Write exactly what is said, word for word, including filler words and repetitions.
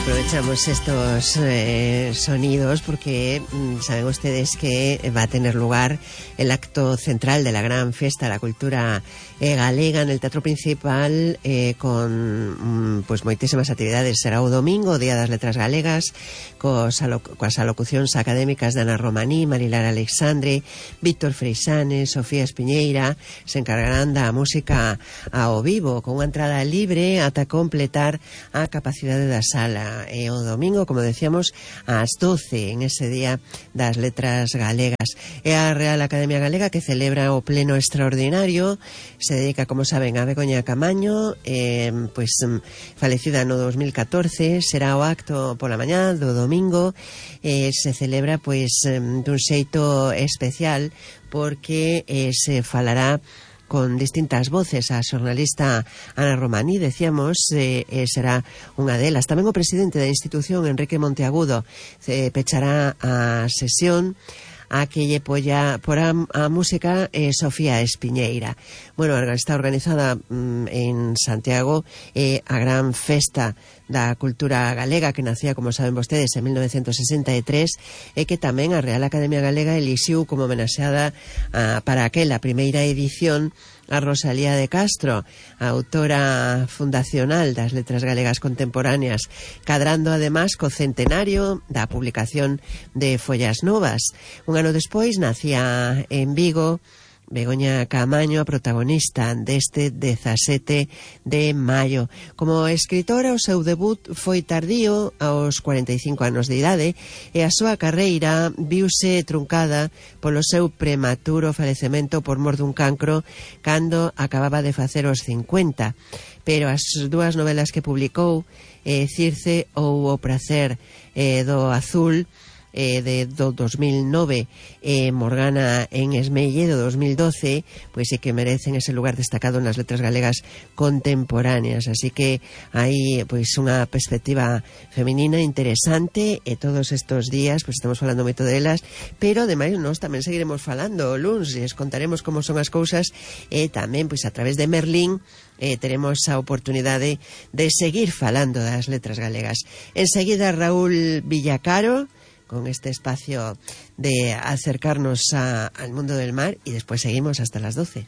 Aprovechamos estos eh, sonidos porque mmm, saben ustedes que va a tener lugar el acto central de la gran fiesta de la cultura eh, galega en el Teatro Principal eh, con mmm, pues moitísimas actividades. Será o domingo, Día das Letras Galegas, cos aloc coas alocucións académicas de Ana Romaní, Marilar Alexandre, Víctor Freixanes, Sofía Espiñeira. Se encargarán da música ao vivo con unha entrada libre ata completar a capacidade da sala. E o domingo, como decíamos, ás doce, en ese Día das Letras Galegas. É a Real Academia Galega que celebra o pleno extraordinario. Se dedica, como saben, a Begoña Camaño, eh, pues falecida no dos mil catorce. Será o acto pola mañá do domingo. Eh, se celebra, pues, dun xeito especial porque eh, se falará con distintas voces. A xornalista Ana Romaní, decíamos, eh, eh, será unha delas. Tamén o presidente da institución, Enrique Monteagudo, eh, pechará a sesión a que lle polla por a, a música eh, Sofía Espiñeira. Bueno, está organizada mm, en Santiago eh, a gran festa da cultura galega que nacía, como saben vostedes, en mil novecientos sesenta e tres e que tamén a Real Academia Galega elixiu como homenaxeada a, para aquela primeira edición a Rosalía de Castro, a autora fundacional das letras galegas contemporáneas, cadrando además co centenario da publicación de Follas Novas. Un ano despois nacía en Vigo Begoña Camaño, a protagonista deste dezasete de maio. Como escritora, o seu debut foi tardío, aos cuarenta e cinco anos de idade, e a súa carreira viuse truncada polo seu prematuro falecemento por mor dun cancro cando acababa de facer os cincuenta. Pero as dúas novelas que publicou, eh, Circe ou O prazer eh, do azul, Eh, de do dos mil nove, eh, Morgana en Esmelle do dos mil doce, pois é que merecen ese lugar destacado nas letras galegas contemporáneas. Así que hai pois unha perspectiva feminina interesante e todos estes días pois estamos falando moito delas, pero ademais nós tamén seguiremos falando o luns e les contaremos como son as cousas e tamén pois a través de Merlín Eh, teremos a oportunidade de seguir falando das letras galegas. Enseguida Raúl Villacaro con este espacio de acercarnos a, al mundo del mar y después seguimos hasta las doce.